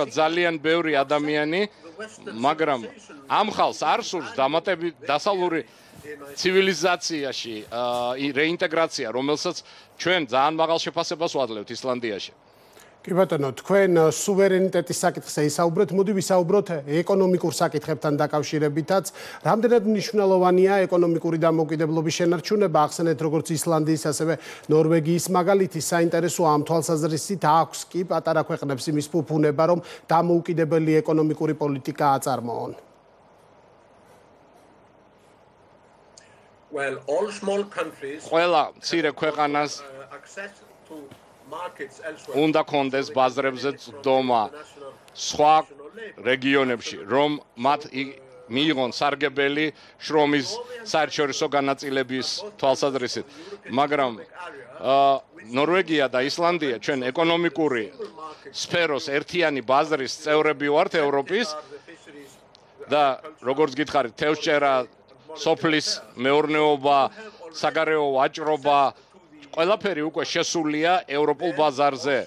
ძალიან ბევრი ადამიანი, მაგრამ ამ ხალხს არ სურს დასავლური ცივილიზაციაში რეინტეგრაცია, რომელსაც ჩვენ ძალიან მაღალ შეფასებას ვადლებთ ისლანდიაში. კი ბატონო, თქვენ სუვერენიტეტის საკითხზე ისაუბრეთ, მოდი ვისაუბროთ ეკონომიკურ საკითხებთან დაკავშირებითაც. რამდენად მნიშვნელოვანია ეკონომიკური დამოუკიდებლობის შენარჩუნება, ახსენეთ როგორც ისლანდიის, ასევე ნორვეგიის მაგალითი, საინტერესო ამ თვალსაზრისით აქვს კი პატარა ქვეყნებს იმის ფუფუნება, რომ დამოუკიდებელი ეკონომიკური პოლიტიკა აწარმოონ. ყველა მცირე ქვეყანას უნდა კონდეს ბაზრებზე წვდომა სხვა რეგიონებში, რომ მათ მიიღონ სარგებელი შრომის საერთაშორისო განაწილების თვალსაზრისით. მაგრამ ნორვეგია და ისლანდია ჩვენ ეკონომიკური სფეროს ერთიანი ბაზრის წევრები ვართ ევროპის და როგორც გითხარით, თევზჭერა, სოფლის მეურნეობა, საგარეო ვაჭრობა ყველაფერი უკვე შესულია ევროპულ ბაზარზე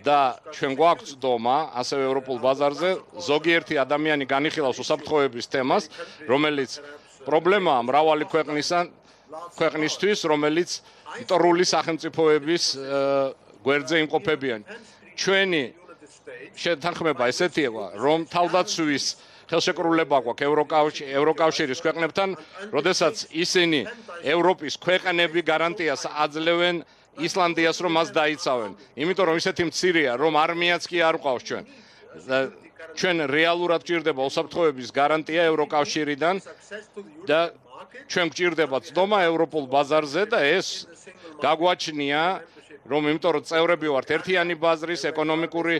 და ჩვენ გვაქვს წვდომა ასევე ევროპულ ბაზარზე ზოგიერთი ადამიანი განიხილავს უსაფრთხოების თემას, რომელიც პრობლემაა მრავალი ქვეყნისთვის, რომელიც მტრული სახელმწიფოების გვერდზე იმყოფებიან. ჩვენი შეთანხმება ესეთია, რომ თავდაცვის ხელშეკრულება გვაქვს ევროკავშირის ქვეყნებთან, როდესაც ისინი ევროპის ქვეყნები გარანტიას აძლევენ ისლანდიას, რომ მას დაიცავენ. იმიტომ რომ ისეთი მცირეა, რომ არმიაც კი არ ყავს ჩვენ. ჩვენ რეალურად გვჭირდება უსაფრთხოების გარანტია ევროკავშირიდან და ჩვენ გვჭირდება წვდომა ევროპულ ბაზარზე და ეს გაგვაჩნია რომ იმიტომ რომ წევრები ვართ ერთიანი ბაზრის ეკონომიკური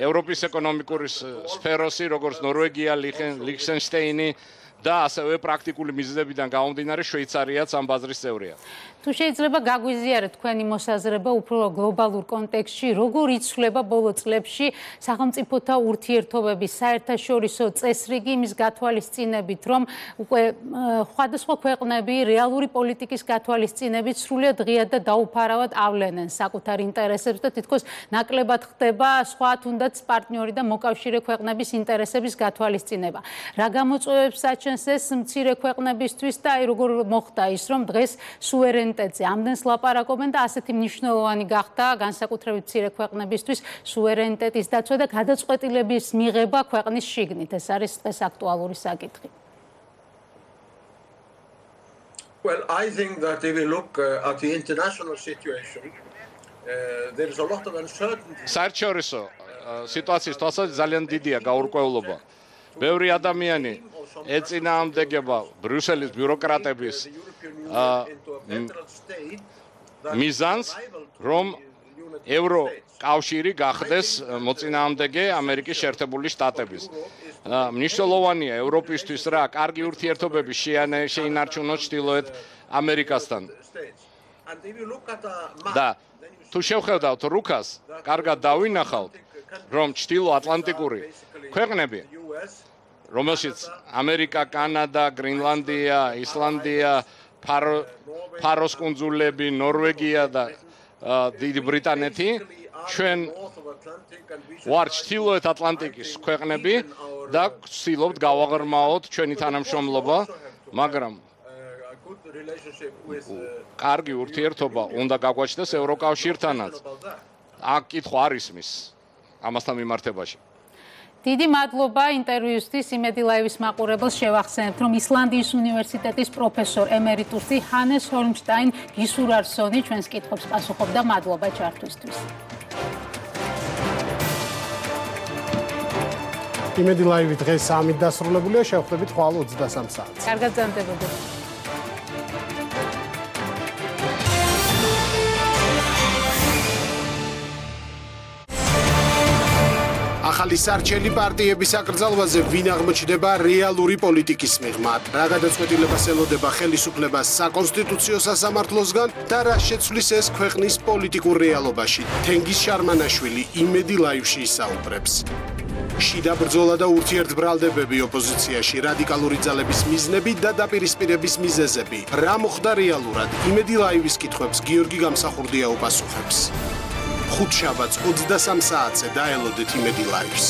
ევროპის ეკონომიკური სფეროსი, როგორც ნორვეგია, ლიხტენშტეინი და ასევე პრაქტიკული მიზეზებიდან გამომდინარე შვეიცარიაც ამ ბაზრის წევრია. თუ შეიძლება გაგვიზიარეთ თქვენი მოსაზრება უფრო გლობალურ კონტექსტში, როგორ იცვლება ბოლო წლებში სახელმწიფოთა ურთიერთობების საერთაშორისო წესრიგი იმის გათვალისწინებით, რომ უკვე სხვადასხვა ქვეყნები რეალური პოლიტიკის გათვალისწინებით სრულიად ღიად და დაუფარავად ავლენენ საკუთარ ინტერესებს და თითქოს ნაკლებად ხდება სხვა თუნდაც პარტნიორი და მოკავშირე ქვეყნების ინტერესების გათვალისწინება. რა გამოწვევებს აჩენს ეს მცირე ქვეყნებისთვის და აი როგორ მოხდა ის, რომ დღეს სუვერენიტეტზე ამდენს ლაპარაკობენ და ასეთი მნიშვნელოვანი გახდა განსაკუთრებით მცირე ქვეყნებისთვის სუვერენიტეტის დაცვა და გადაწყვეტილების მიღება ქვეყნის შიგნით. ეს არის დღეს აქტუალური საკითხი. Well, I think that if we look at the international situation, there is a lot of uncertainty. საერთაშორისო სიტუაციის თვალსაზრისით ძალიან დიდია გაურკვევლობა. ბევრი ადამიანი ეწინააღმდეგება ბრიუსელის ბიუროკრატების მიზანს, რომ ევროკავშირი გახდეს მოწინააღმდეგე ამერიკის შეერთებული შტატების. მნიშვნელოვანია ევროპისთვის რა კარგი ურთიერთობები შეინარჩუნოს ჩრდილოეთ ამერიკასთან. და თუ შევხედავთ რუკას, კარგად დავინახავთ, რომ ჩრდილოატლანტიკური ქვეყნები, რომელშიც ამერიკა, კანადა, გრინლანდია, ისლანდია, ფაროს კუნძულები, ნორვეგია და დიდი ბრიტანეთი, ჩვენ ვართ ჩრდილოეთ ატლანტიკის ქვეყნები და ვცდილობთ გავაღრმაოთ ჩვენი თანამშრომლობა, მაგრამ კარგი ურთიერთობა უნდა გაგვაჩნდეს ევროკავშირთანაც. აქ კითხვა არ ისმის ამასთან მიმართებაში. დიდი მადლობა ინტერვიუსთვის. იმედი ლაივის მაყურებელს შევახსენებთ, რომ ისლანდიის უნივერსიტეტის პროფესორ ემერიტუსი ჰანეს ჰოლმშტაინ გისურარსონი ჩვენს კითხვებს პასუხობდა. მადლობა ჩართვისთვის. იმედი ლაივი დღეს ამით დასრულებულია, შევხვდებით ხვალ 23 საათს. კარგად გრძელდებოდეთ. ახალი სარჩელი პარტიების აკრძალვაზე ვინ აღმოჩნდება რეალური პოლიტიკის მიღმად, რა გადაწყვეტილებას ელოდება ხელისუფლებას საკონსტიტუციო სასამართლოსგან და რა შეცვლის ეს ქვეყნის პოლიტიკურ რეალობაში. თენგიზ შარმანაშვილი იმედი ლაივში ისაუბრებს. შიდა ბრძოლა და ურთიერთბრალდებები ოპოზიციაში, რადიკალური ძალების მიზნები და დაპირისპირების მიზეზები. რა მოხდა რეალურად? იმედი ლაივის კითხვებს გიორგი გამსახურდია უპასუხებს. ხუთშაბათს 23 საათზე დაელოდეთ იმედი ლაივს.